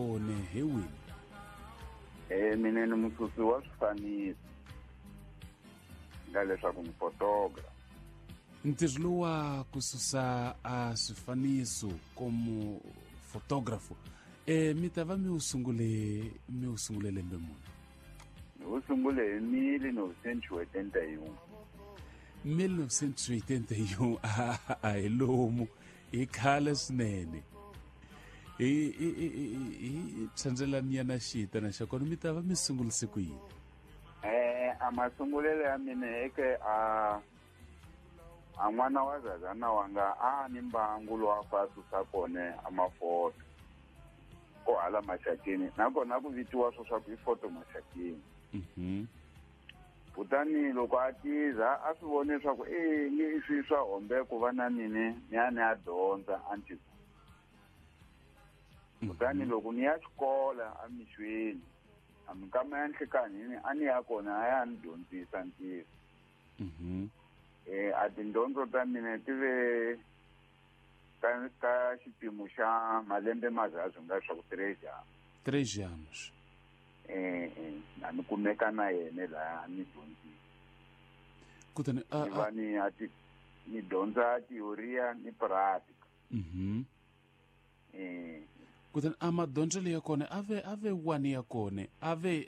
One he wini. Mina ni mususi wa swifaniso nga leswaku ni photographer. Ntirho lowa ku susa a swifaniso como fotógrafo mi ta va mi wu sungule mi wu sungule lembe muni? Ni wu sungule hi 1981. 1981 a hi lomu i khale swinene. Hi hi hi hi tshandzelanyana xitana xa kona mi ta va mi sungurise ku yini? A masungulelo ya mina eke a a n'wana wa zazana wanga a ni mbangu lowu a fa susa kona a mafoto ko hala Maxakeni, nakona ku vitiwa swo swa ku i foto Maxakeni. Kutani loko a tiza a swi vone leswaku e nge i swi swa hombe ku va na mine ni ya ni ya dyondza a ntirho. Kutani loko ni ya xikola emixweni a minkama ya nhlikanhini a ni ya kona a ya ni dyondzisa ntirho. A tindyondzo ta mina ti ve ka ka xipimo xa malembe mazazwi nga swa ku 3 anos. 3 anos. Na ni kumeka na yena laha ni dyondzisa. Kutani a va ni a ti ni dyondza teoria ni pratica. Kutani a madyondzelo ya kona a ve wani ya kona a ve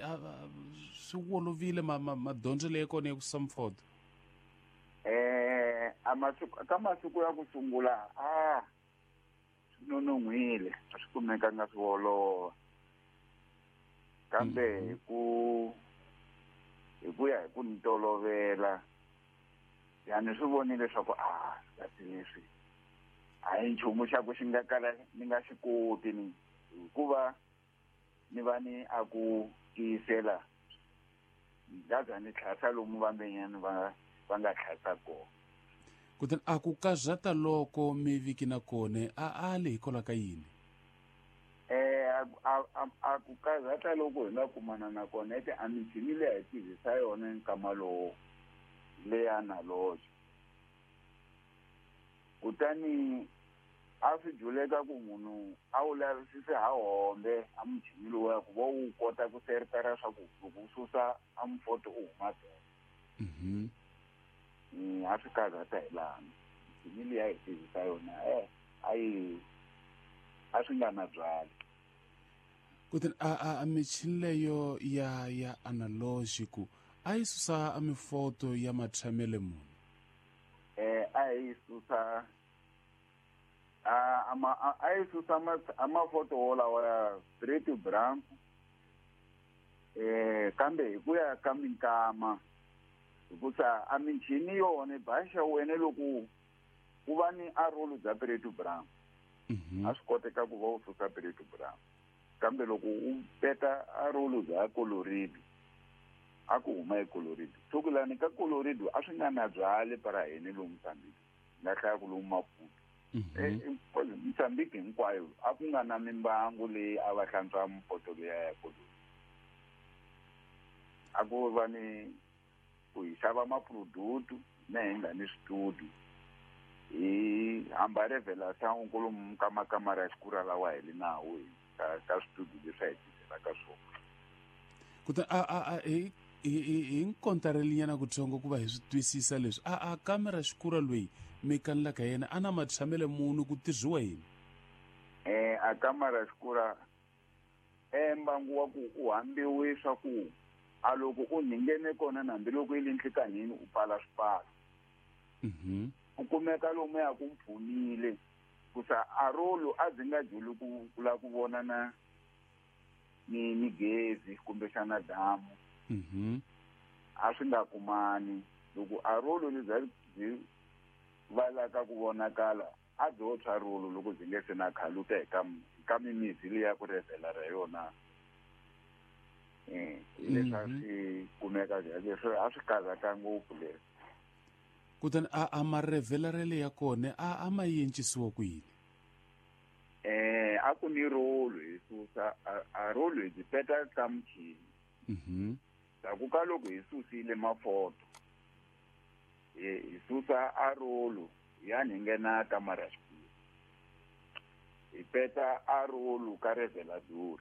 swi wolovile madyondzelo ya kona ya ku susa mfoto? A masiku ka masiku ya ku sungula a swi nonon'hwile, a swi kumekanga swi olova, kambe hi ku ya hi ku ni tolovela yani swi vonile leswaku a kasi leswi a hi nchumu xa ku xi nga kala ni nga xi koti ni hikuva ni va ni a ku tiyisela ngaza ni tlhasa lomu vambenyani va va nga tlhasa kona. Kutani a ku kazata loko mi viki na kone a a le hikwalaho ka yini? A ku kazata loko hi nga kumana na kona ete a michini leyi hi tirhisa yona nkama lowo leya analogy, kutani a swi juleka ku munhu a wu lavisise ha hombe a muchini lowuya ku va wu kota ku seritara swa ku loko u susa a mufoto u huma bele. A swi karhata hi laha michini leyi a hi tirhisa yona a yi a swi nga na byali. Kutani a michini leyo ya analogico a yi susa a mifoto ya matshamele muni? A yi susa a yi susa a mafoto wolawa ya preto branco, kambe hi ku ya ka minkama hikusa a michini yona baxa wena loko ku va ni a rolo bya preto branco, a swi koteka ku va u susa preto branco, kambe loko u peta a rolo bya colorido a ku huma e colorido sokulani ka colorido a swi nga na byali para hina lomu Mozambique nga hlaya ku lomu Maputo. Mozambique hinkwayo a ku nga na mimbangu leyi a va hlantswa mpoto leya ya colorido, a ku va ni ku hi xava maproduct na hi nga ni switudio hi hamba revelação kolomu ka makamara ya xikura lawa hi li nawo hi ka switudio leswi a hi tirhelaka swona. Kutani a hi nkontarelinyana kutsongo ku va hi swi twisisa leswi a kamera xikura loyi mi kanelaka yena a na matshamele muni, ku tirhiwa yini? A kamara xikura mbangu wa ku u hambiwe swa ku a loko u nghene kona na hambiloko yi le nhlikanhini u pfala swipfalo. U kumeka lomu ya ku mpfunile kusa a rolo a byi nga juli ku ku lava ku vona na ni gezi kumbexana damu. A swi nga kumani loko a rolo lebyi byi valaka ku vonakala a byo tshwa rolo loko byi nge se na khaluka hi ka mimizi leya ku revhela ra yona leswi a swi kumeka leswi a swi karhata ngopfu leswi. Kutani a marevelarele ya kona a ma yencisiwa ku yini? A ku ni rolo hi susa a rolo hi byi peta ka muchini. Ndzhaku ka loko hi susile mafoto hi susa a rolo ya ni nghena kamara xikulu hi peta a rolo ka revelador.